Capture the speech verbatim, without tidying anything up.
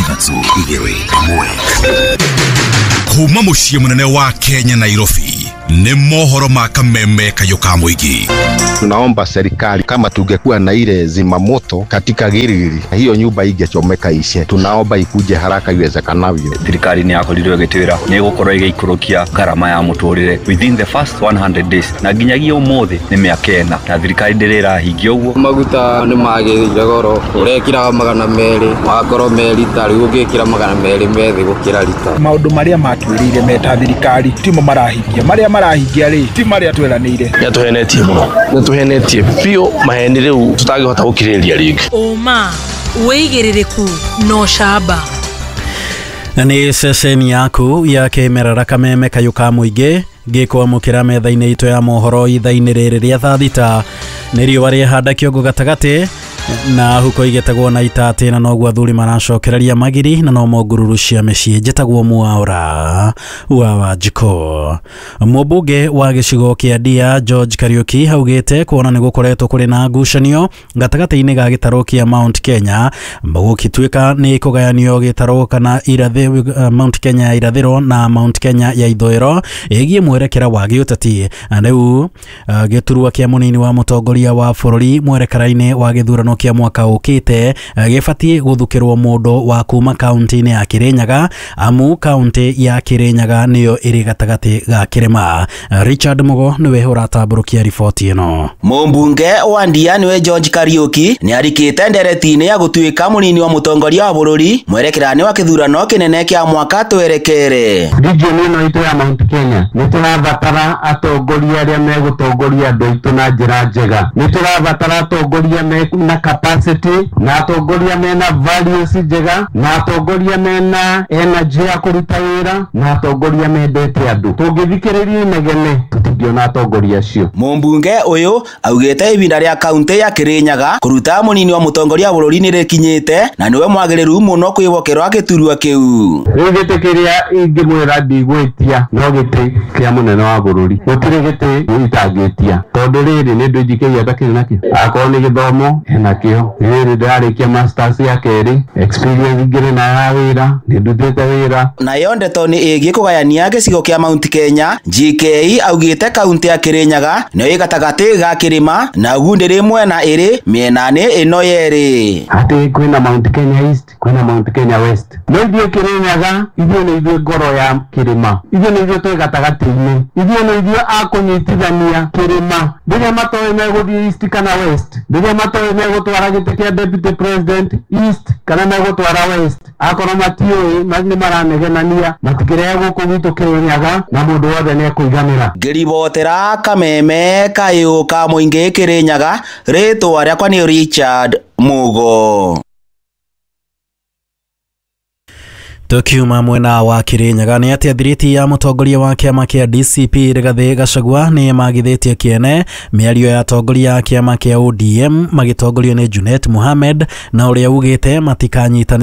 Ithatũ, igĩrĩ, ĩmwe. Kuma mũciĩ mũnene wa Kenya, Nairobi, nĩ mohoro ma Kameme Kayũ ka Mũingĩ. Tunaomba serikali, kama tungekuwa na ile zimamoto katika Gilgili, hiyo nyumba ingechomeka ishe. Tunaomba ikuje haraka iwezekanavyo. Thirikari nĩ yakorirwo ĩgĩtwĩra nĩ ĩgũkorwo ĩgĩikũrũkia ngarama ya mũtũrĩre within the first one hundred days, na nginyagia ũmũthĩ nĩ mĩaka ĩna na thirikari ndĩrĩ ĩrahingia ũguo. Maguta nĩ magĩrĩire goro, ũrekĩraga magana merĩ magakorwo me rita, rĩu ũngĩkĩra magana merĩ me thĩ gũkĩra rita. Maũndũ marĩa matwĩrĩire meta thirikari timo marahingia, marĩa marahingia rĩ ti marĩa tweranĩire. Nĩ atũhenetie mũno, nĩ atũhenetie biũ, maheni rĩu tũtangĩhota gũkirĩrĩria rĩngĩ. Ũma, wĩigĩrĩrĩku na ũcamba. Na nĩ ceceni yaku ya kĩmerera, Kameme Kayũ ka Mũingĩ, ngĩkwamũkĩra metha-inĩ itũ ya mohoro ithaa-inĩ rĩrĩ rĩa thaa thita. Nĩ riũa rĩehanda kĩongo gatagatĩ na huko igetagwo na itatĩ, na noguo athuri maracokereria magiri na no ngururu cia mĩciĩ. Njĩtagwo Mwaũra wa Wanjikũ. Mũmbunge wa gĩcigo kĩa Ndia George Kariuki augĩte kuona nĩ gũkoretwo kũrĩ na ngucanio gatagatĩ-inĩ ga gĩtarũ kĩa Mount Kenya, gũgĩtuĩka nĩ kũgayanio gĩtarũ kana irathĩ, Mount Kenya ya irathĩro na Mount Kenya ya ithũĩro, ĩgiĩ mwerekera wa gĩũteti. Rĩu gĩturwa kĩa mũnini wa mũtongoria wa bũrũri mwerekera-inĩ wa gĩthurano kĩa mwaka ũkĩte gĩbatiĩ gũthukĩrwo mũndũ wa kuma kaunti-inĩ ya Kirinyaga, amu kaunti ya Kirinyaga nĩyo ĩrĩ gatagatĩ ga kĩrĩma. Richard Mugo nĩwe ũratambũrũkia riboti ĩno. Mũmbunge wa Ndia nĩwe George Kariuki nĩ arikĩte ndereti-inĩ ya gũtuĩka mũnini wa mũtongoria wa bũrũri mwerekera-inĩ wa kĩthurano kĩnene kĩa mwaka twerekere. Region ĩno itũ ya Mount Kenya nĩ tũrabatara atongoria arĩa megũtongoria andũ aitũ na njĩra njega. Nĩ tũrabatara atongoria mena capacity, na atongoria mena values njega, na atongoria mena energy ya kũruta wĩra, na atongoria mendete andũ. Tũngĩthikĩrĩria inegene, tũtingĩona atongoria acio. Mũmbunge ũyũ augĩte ibinda rĩa kaunti ya Kirinyaga kũruta mũnini wa mũtongoria wa bũrũri nĩ rĩkinyĩte na nĩwe mwagĩrĩru mũno kwĩhokerwo gĩturwa kĩu. Rĩu gĩtĩ kĩrĩa ingĩmwĩra ndigwĩtia no gĩtĩ kĩa mũnene wa bũrũri. Gũtirĩ gĩtĩ itangĩtia, tondũ rĩrĩ nĩ ndũ njikĩria ndakĩrĩ nakĩo. Akorwo nĩ gĩthomo enakĩo, rĩrĩ ndĩrarĩkia masters ya kerĩ, experience ngĩrĩ nayo ya wĩra, nĩ ndutĩte wĩra. Nayo ndeto nĩ ĩgiĩ kũgayania gĩcigo kĩa Mount Kenya, G K augĩte kaunti ya Kirinyaga nĩyo ĩ gatagatĩ ga kĩrĩma na ũguo ndĩrĩ mwena ĩrĩ mĩena-inĩ ĩno yerĩ. Atĩ kwĩna Mount Kenya East, kwĩna Mount Kenya West, no ithuĩ Kirinyaga, ithuĩ nĩ ithuĩ ngoro ya kĩrĩma, ithuĩ nĩ ithuĩ twĩ gatagatĩ-inĩ, ithuĩ nĩ ithuĩ a kũnyitithania kĩrĩma. Rĩrĩa matoĩ megũthiĩ East kana West, rĩrĩa matoĩ megũtwara gĩtĩ kĩa deputy president East kana megũtwara West, akorwo matiũĩ, nĩ maranegenania, matikĩrehe gũkũ gwitũ Kirinyaga na mũndũ wothe nĩ ekũiganĩra. Ngĩribotera Kameme Kayũ ka Mũingĩ Kirinyaga, rĩtwa rĩakwa nĩ Richard Mugo. Tukiuma mwena wa Kirinyaga, nĩ atĩ thiriti ya mũtongoria wa kĩama kĩa D C P Rigathĩ Gachagua nĩ magithĩtie kĩene mĩario ya atongoria a kĩama kĩa O D M magĩtongorio nĩ Junet Mohamed, na ũrĩa ugĩte matikanyitanĩra.